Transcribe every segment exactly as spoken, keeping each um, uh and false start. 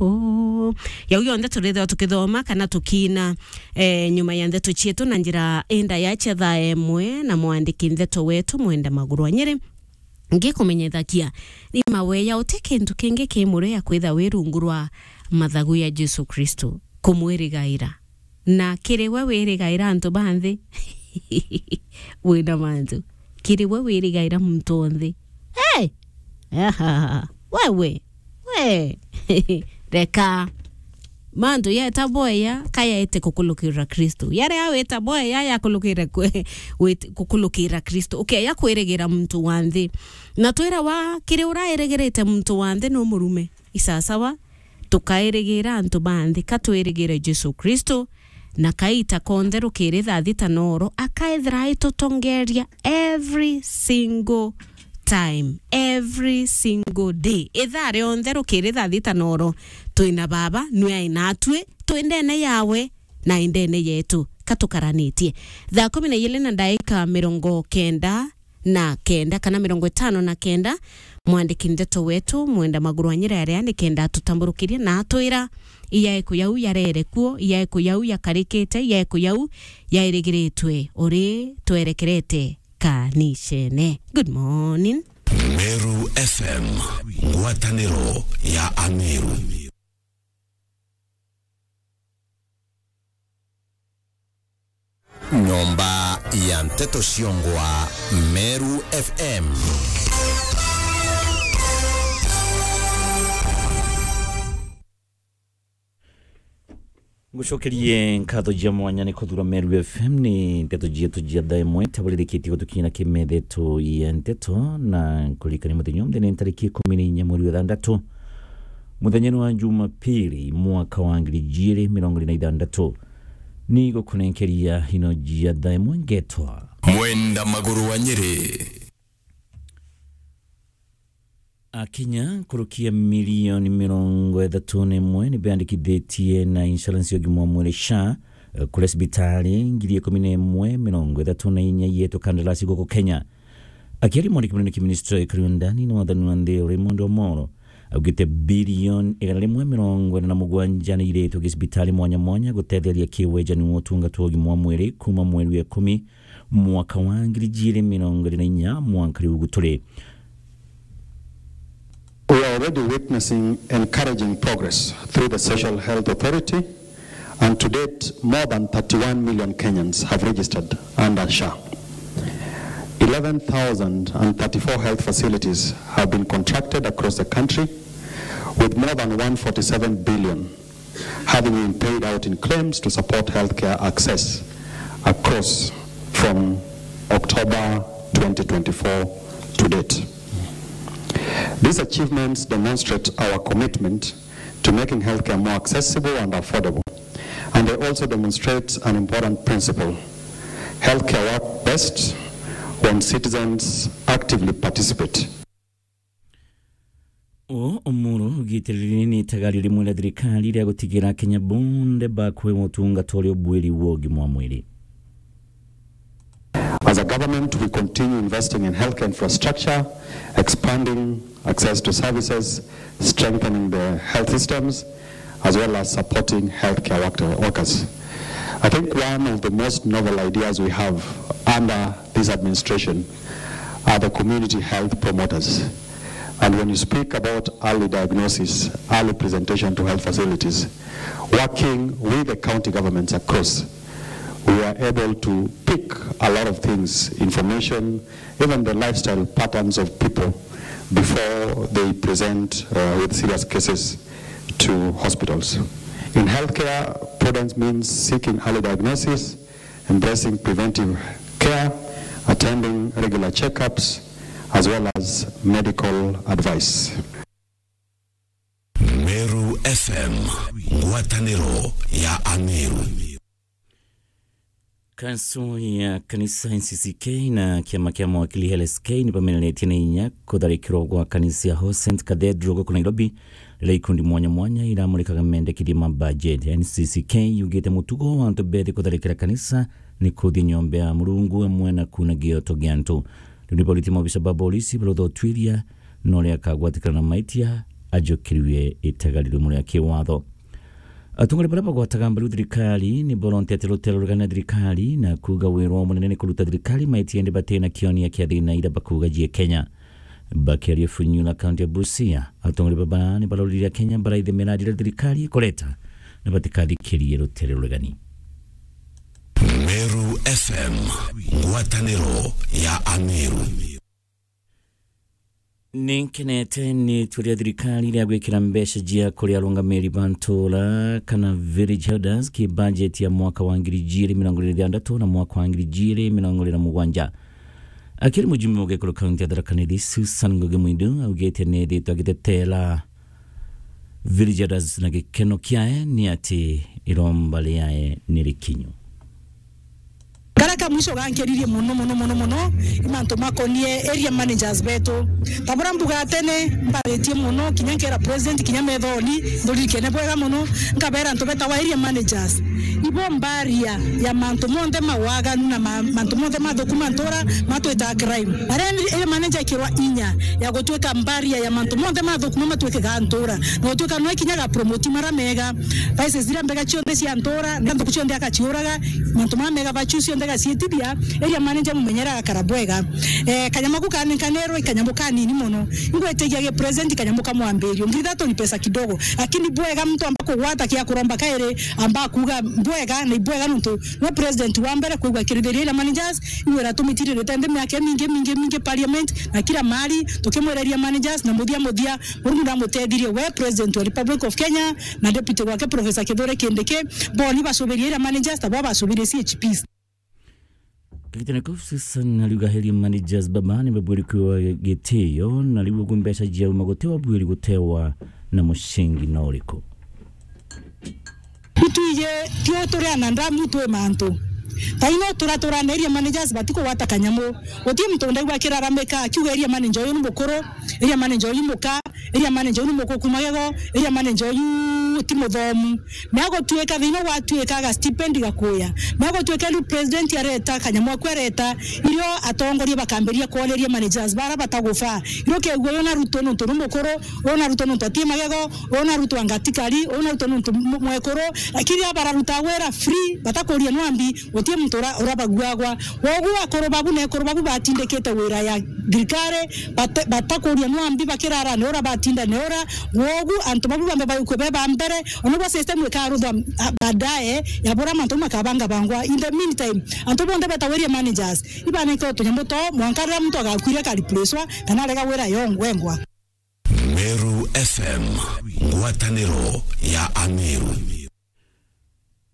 Oh. Yau yonthe turithirwa tukithoma kana tukiina, eh, nyuma ya ndeto cietu na njira indaya cia thaa imwe na mwandiki ndeto wetu Mwenda Maguru wa Nyeri. Ngikumenyithakia, ni maweya uti kintu kingi ki murio ya kwitha wi rungu rwa mathagu ya Jesu Kristo, kumwirigaira. Na kiri we wirigaira antu ba nthi, wina mantu. Kiri we wirigaira muntu o nthi. Hey! Aha! Wewe! We! Reka. Mantu yeta boya, ka yaete kukulukira Kristo. Yaria wita boya, yakulukira kwe-, wit-, kukulukira Kristo. Ukeya kwirigira muntu wa nthi. Na twira wa, kiri urairigirite muntu wa nthi no murume. Isasawa, tukairigira antu ba nthi, ka twirigire Jesu Kristo, na kaita konthe rukiri thaa thita noro, akaethira aitutongeria every single time, every single day. Ithaa rionthe rukiri thaa thita noro, twina Baba, nwe ai natwi, twi ndene yawe, na i ndene yetu. Ka tukaranitie. Thaa kumi na ijiri na ndaika mirongo kenda na kenda kana mirongo itano na kenda, mwandiki ndeto wetu Mwenda Maguru wa Nyeri aria ni kenda atutamburukirie na atwira, iya iku yau yarere kuo, iya iku yau yakarikite, iya iku yau yairigiritwe uri twerekerete kanicene. Good morning. Meru F M, ngwataniro ya Ameru. Nyomba ya nteto ciongwa, Meru F M. Ngucokerie nkatho cia mwanya ni kuthura Meru F M. Ni nteto cietu cia thaa imwe tabaririkitie gutukinyira kimethetho ya nteto, na nkuririkania muthenya uyu ni ntariki ikumi na inya mweri wa thanthatu, muthenya ni wa Jumapili, mwaka wa ngiri ijiri mirongo iri na ithanthatu. Ni gukunenkeria ino cia thaa imwe ngetwa Mwenda Maguru wa Nyeri. Akenya nkuruki ya milioni mirongo ithatu na imwe ni beandikithitie na insurance ya ugima wa mwiri, sha, kuria cibitari ngiri ikumi na imwe mirongo ithatu na inya ietwe kandarasi guku Kenya. Akiaria mwandiki munene ki ministry ya ikari wa ndani na wathani wa nthi, Raymond Omolo, augite bilioni igana rimwe mirongo ina na mugwanja ni iretwe gicibitari mwanya mwanya gutetheria kiwejani wa utungata wa ugima wa mwiri kuma mweri wa ikumi mwaka wa ngiri ijiri mirongo iri na inya, mwanka riu guturi. We are already witnessing encouraging progress through the Social Health Authority, and to date, more than thirty-one million Kenyans have registered under sha. Eleven thousand and thirty-four health facilities have been contracted across the country, with more than one forty-seven billion having been paid out in claims to support healthcare access across from October twenty twenty-four to date. These achievements demonstrate our commitment to making healthcare more accessible and affordable, and they also demonstrate an important principle: healthcare works best when citizens actively participate. O Omolo augite riri ni itagario rimwe ria thirikari ria gutigira Akenya bonthe bakwewa utungata uria ubwiri wa ugima wa mwiri. As a government, we continue investing in healthcare infrastructure, expanding access to services, strengthening the health systems, as well as supporting healthcare work-, workers. I think one of the most novel ideas we have under this administration are the community health promoters. And when you speak about early diagnosis, early presentation to health facilities, working with the county governments across, we are able to pick a lot of things, information, even the lifestyle patterns of people before they present, uh, with serious cases to hospitals. In healthcare, prudence means seeking early diagnosis, embracing preventive care, attending regular checkups, as well as medical advice. Meru F M, ngwataniro ya Ameru. Kanso ya kanisa N C C K na kiama kia mawakili L S K ni bameneretie na inya kutharikirwa gwa kanisa ya All Saints Cathedral guku Nairobi, riria ikundi mwanya mwanya iramurikaga mendekithia ma budget. N C C K yugite mutugo wa antu bethi kutharikira kanisa ni kuthia nyomba ya Murungu amwe na kuna gioto gia antu. Riu ni boriti maobisa ba borisi barutha utwiria na uria akagwatikana na maitia ajukirue itega riu muria kiwatho. Atongoria baria bagwataga mbaru thirikari ni borontetie rutere ruregani na thirikari na kuuga wira wao munene ni kuruta thirikari maiti indi batina kionia kia thina iria bakuuga jie Kenya. Bakiaria Funyula, kaunti ya Busia, atongoria baba ni barorire Kenya baraithi miradi iria thirikari ikureta na batikathikirie rutere ruregani. Meru F M, ngwataniro ya Ameru. Ni nkenete ni turia thirikari iria gwikira mbeca jia kuri arungamiri ba ntura kana village elders ki budget ya mwaka wa ngiri ijiri mirongo iri na ithandatu na mwaka wa ngiri ijiri mirongo iri na mugwanja. Akiri mujumbe wa gikuru kaunti ya Tharaka Nithi, Susan Ngugi Mwindu augite ni ethitwe agitetera village elders na gikeno kiae ni ati iromba riae ni rikinyu. Karia ka mwisho gankeririe mono, mono, mono, mono, i mantu makonie area managers betu. Ta buria mbuga tene, mbaritie mono, kinya nkera president, kinya methoni, nduririkene bwega mono, nkabera antu betawa area managers. Ibo mbaria ya mantu monthe mawaganu na ma-, mantu monthe mathuku ma ntura matwita crime. Aria area manager ekirwa inya ya gutuika mbaria ya mantu monthe mathuku ma matuike ga ntura. Na gutuika no ikinya ga promote mara mega. Vices ziria mbega cionthe cia ntura, na nthuku cionthe agaciuraga, mantu mara mega bachu cionthe agaciitithia, area manager mumenyera agakara bwega. Eh, kanyamu ku kani kanero, ikanyamu kanini mono. Ingwetigia gi present kanyamu ka mwambirio. Ngiri ithatu ni pesa kidogo. Lakini bwega muntu amba kugwata kia kuromba kairi, amba kuga bwega, na ibwega nontu no president wa mbere kwigua kirithiria area managers, iwe ira tumitiririte nthi miaka mingi, mingi, mingi parliament, na kila mahali, tukimwereria managers, na muthia muthia, Murungu ndamutethirie we, President wa Republic of Kenya, na Deputy wake Professor Kithure Kindiki, boni bacubirie area managers, tabo bacubirie C H Ps. Kagitene kau Susan ariuga area managers baba ni babwiri kwiwa gitio, na riu ugu mbeca jiauma guti wabwiri gutewa na mucingi no uriku. Itwije tio turi anadamu twi mantu. Taino turatura na area managers batikugwata kanyamu. Guti muntu ndaigua akiraramika akiuga area manager uyu ni mukuru, area manager uyu muka, area manager uyu ni mukuku magego, area manager uyu ti muthomu. Na gutuika thina gwatuika ga stipend gakuya. Na gutuika riu president areta kanyamu aku areta, irio atongoria bakambiria kwoneria managers bara batagufa. Irio kegua uyu na Ruto nontu ni mukuru, ona Ruto nontu ati magego, ona Ruto anga ti kari, ona Ruto nontu mu-, mwekuru, lakini aba bararuta wira free, batakuria nwambi, guti muntu ura-, urabaguagwa. Wogu akuru babu na ekuru babu batindikite wira ya thirikari, bate-, batakuria nwambi, bakirara ni ura batinda ni ura. Wogu antu babu bambe bagikue be ba mbere, ona bwa system ikaruthwa, ah, baadaye, ya bura mantu makabanga bangwa. In the meantime, antu bonthe betawa area managers, ibanenkewe tunyamu twao, mwanka riria muntu agakuire akareplacewa, kana arega wira yo wengwa. Meru F M, ngwataniro ya Ameru.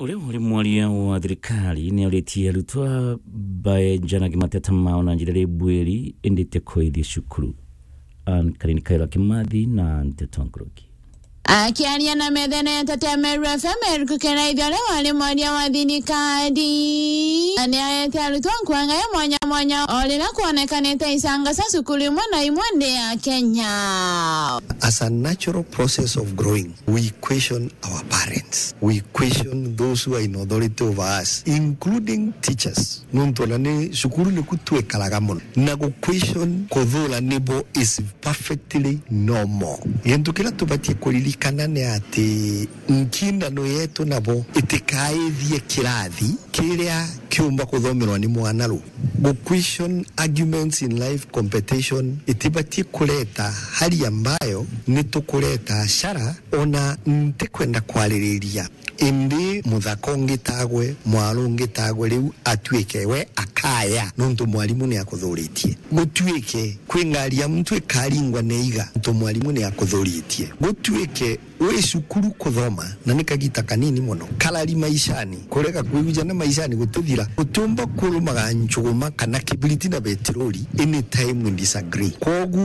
Uria uri mwaria wa thirikari ni aritie arutwa baenjanage mateta mao na njira iri bwiri, indi ti kuithia cukuru. Ann Karini Kaira Kimathi na Nteto Nkuruki. Akiaria na methene ya Nteto ya Meru F M, Eric Kenaithia, uria wari mwaria wa thirikari, na ni aete arutwa nkuanga ya mwanya mwanya o riria kwonekanite icanga cia cukuru imwe na imwe nthi ya Kenya. As a natural process of growing, we question our parents. We question those who are in authority over us, including teachers. Nontu ona ni cukuru niku twikaraga mono. Na gu question kuthura nibo is perfectly normal. Gintu kiria tubatie kuririkana ni ati nkindano yetu nabo itikaithie kirathi kiria kiumba kuthomerwa ni mwana ru. Gu question arguments in life competition itibatie kureta hali ambayo ni tukureta shara. Ona ntikwenda kwaririria, indi muthaka ungitagwe, mwaru ungitagwe, riu atuike we akaya, nontu mwarimu ni akuthuritie. Gutuike kwi ngari ya muntu ikaringwa ni iga, nontu mwarimu ni akuthuritie. Gutuike wi cukuru kuthoma, na ni kagita kanini mono, karari maishani, kurega kwihujana maishani gutithira, gutiumba kurumaga njuguma kana kibiriti na betirori, anytime we disagree. Kwogu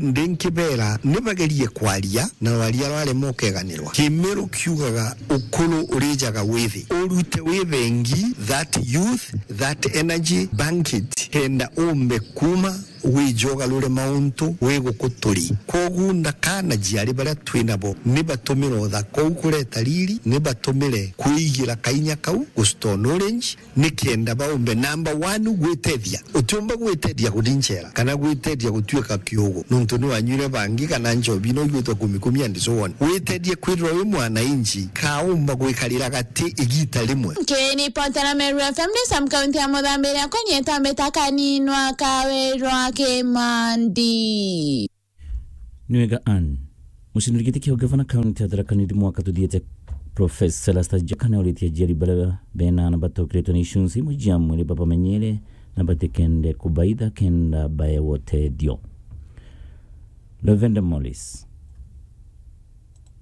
ndi nkibera, ni bagerie kwaria, na rwaria rwarema ukeganirwa. Kimiru kiugaga, ukuru urijaga withi. Urute wi bengi that youth, that energy, bank it, kenda umbe kuma wije ugarure mauntu wi guku turi. Kwogu na kana jiari baria twi nabo, ni batumire uthaka uu kureta riri, ni batumire kwigira kainya kau gucita knowledge, nikenda baumbe, number one, gwitethia. Utiumba gwitethia kuthi nchera, kana gwitethia gutuika kiugu, nontu ni wanyuire bangi kana nchobi, no igwitwa kumi kumi and so on. Witethie kwithirwa wi mwananchi, kaumba gwikarira gati igita rimwe. Nkiripotera Meru F M ni Sam, kaunti ya Muthambiria, kwenye tambe ta kaninwa kawirwa Kimandi. Nwega Ann. Mucindiri giti kia ugavana kaunti ya Tharaka Nithi mwaka tuthiite, Professor Erastus Njoka, nauritie aciari baria bena aana batokiritwe ni icunci imwe cia mwiri babamenyere na batikende kubaitha kenda baewa utethio. Lavender Morris.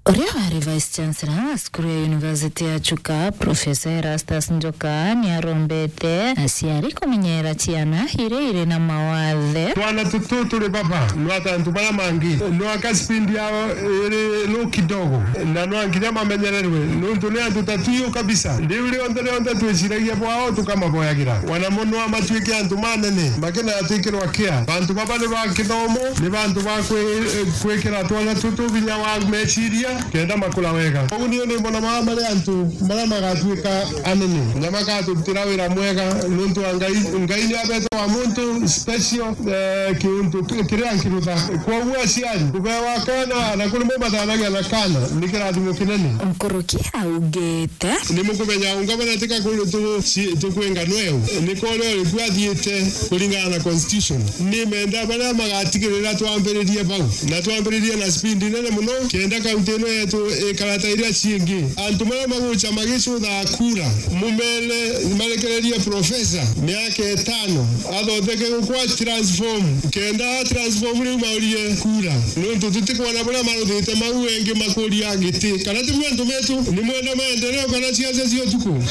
Uria wari Vice Chancellor wa cukuru ya University ya Chuka, Professor Erastus Njoka, ni arombete aciari kumenyera ciana iria iri na mawathe. Twana tutu turi baba, no ata antu baria mangi, no aka speed yao iri low kidogo, na no nginya mamenyererwe, nontu ni antu ta tuyu kabisa. Riu rionthe rionthe twiciragia bwao tukamaboyagira, wana mono amatuike antu manene, makena atwikirwa care. Bantu baba ni ba kithomo, ni bantu ba kwi-, kwikira twana tutu vinya wa meciria, kenda makura wega. Koguo niu ni mbona mama mari antu maria magatuika anene, na magaturutira wira mwega, nontu wa Ngai, Ngai ni abete wa muntu special, eh, kiuntu ki-, kiria nkirutha. Kwoguo aciari, kubewa kana, na kuri mumathanagia na kana, ni kirathimo kinene. Nkuruki augite. Ni mukumenya ungavana tika kuri tu-, ci-, tukwinga nweu. Ni kore uri kwathiite kuringana na constitution. Ni menda baria magatigirira twambiririe bau. Na twambiririe na speed nene muno, kenda kaunti ino yetu ikara ta iria ciingi. Antu baria magucha magicutha kura, mumere marekererie professor miaka itano, athotheke gukwa transform, kenda transform riu maurie kura. Nontu tutikwona buria maruthite mau engi makuria giti. Kana ti bwio antu betu, ni mwenda maendeleo kana ciaca cia utuku?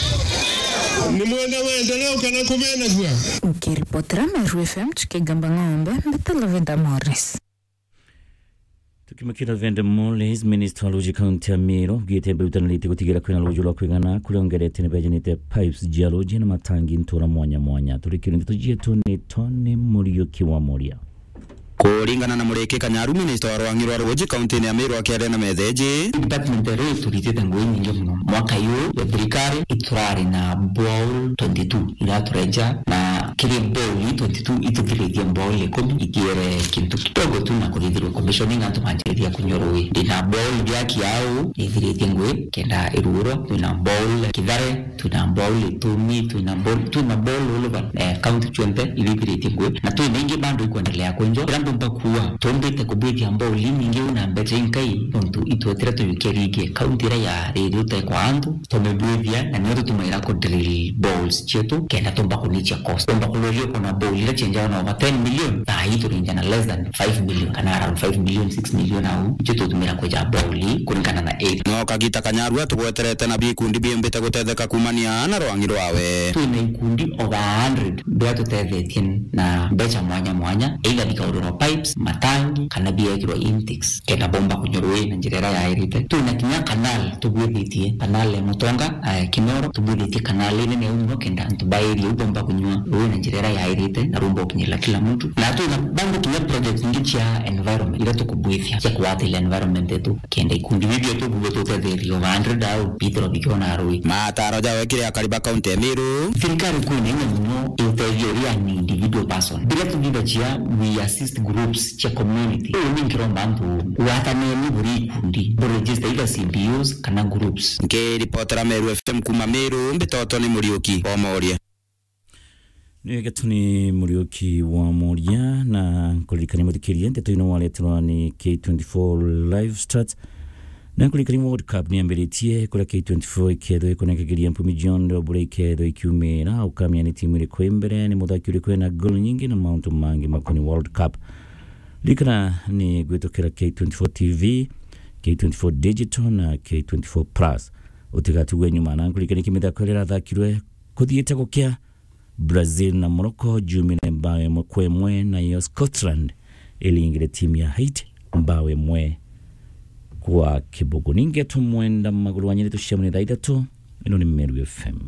Ni mwenda maendeleo kana kumenagua? Nkiripotera Meru F M, Chukigamba Ng'ombe, mbita Lavender Morris. Tukimukira Lavender Morris, minister wa ruji kaunti ya Meru, augite barutanirite gutigira kwina ruji rwa kwigana kuria ongerete ni bejanite pipes cia ruji na matangi ntura mwanya mwanya. Turikire ndeto cietu ni Tony Muriuki wa Muria. Kuringana na Muriki Kanyaru, minista wa rwang'i rwa ruji kauntini ya Meru akiaria na metheji. Department ya ruji turitite ngugi nyingi muno. Mwaka uyu ya thirikari iturari na borehole twenty-two iraturenja, na kiri borehole twenty-two ituthiritie borehole ikumi, ithiere kintu kidogo tu na kurithirwa commissioning antu manjiriria kunywa ruji. Ndina borehole ya Kiau ithiritie ngugi kenda iruurwa, twina borehole Kithare, twina borehole Itumi, twina borehole, twina borehole all over, eh, county cionthe irithiritie ngugi, na twina ingi bado ikwendelea kwenjwa. Ira ndomba kuuga, tumbite kubwithia borehole inyingi na mbecha inkai, nontu itwetire tuyukia ringi county iria ya riri utekwa antu, tumibwithia, na nio tutumaira ku drill boreholes cietu, kenda tumba kunichia cost. Tumba kururia kuna borehole iria cienjawa na over ten million, thaa ii turinja na less than five million, kana around five million, six million au, icio tutumira kweja borehole kuringana na area. No kagita Kanyaru atugweterete na bikundi biumbite gutetheka kumania na rwang'i rwawe. Twina ikundi over a hundred biria tutethetie na mbecha mwanya mwanya, either bikaururwa pipes, matangi, kana biekirwa intakes, kenda bomba kunywa ruji na njira iria yairite. Twina kinya canal tubwithitie, canal ya Mutonga, eh, Kinoro, tubwithitie canal inene au muno kenda antu ba area iu bomba kunywa ruji na njira iria yairite na rumba gukinyirira kila muntu. Na twina bado kinya projects ingi cia environment iria tukubwithia cia kugwatira environment yetu, kenda ikundi biu bietu bubwe tutetheria over a hundred au bithirwa bikiona ruji. Mataro jawe kiri akari ba kaunti ya Meru. Thirikari kwina inya muno itethia uria ni individual person. Biria tuthithagia, we assist groups cia community. Uu ni nkiromba antu gwataneni buri ikundi, bu register either C B Us kana groups. Nkiripotera Meru F M kuma Meru, mbitoto ni Muriuki wa Moria. Ni Getuni Muriuki wa Moria, na nkuririkania muthikiria, ndeto ino wareterwa ni K twenty-four Live Start. Na nkuririkania World Cup ni yambiritie, kuria K twenty-four ikethwa ikunenkagiria mpumi cionthe o buria ikethwa ikiumira, ukamenya ni timu iriku i mbere, ni muthaki uriku ena goal nyingi na mauntu mangi makoni World Cup. Ririkana ni gwitukira K twenty-four T V, K twenty-four Digital na K twenty-four Plus. Utigatigwe nyuma, na nkuririkania kimithako iria irathakirwe kuthiite gukia. Brazil na Morocco jumire mbao imwe kwa imwe, nayo Scotland iringire timu ya Haiti mbao imwe kwa kibugu. Ni Ngeto Mwenda Maguru wa Nyeri, tucemanie thaa ithatu. Ino ni Meru F M.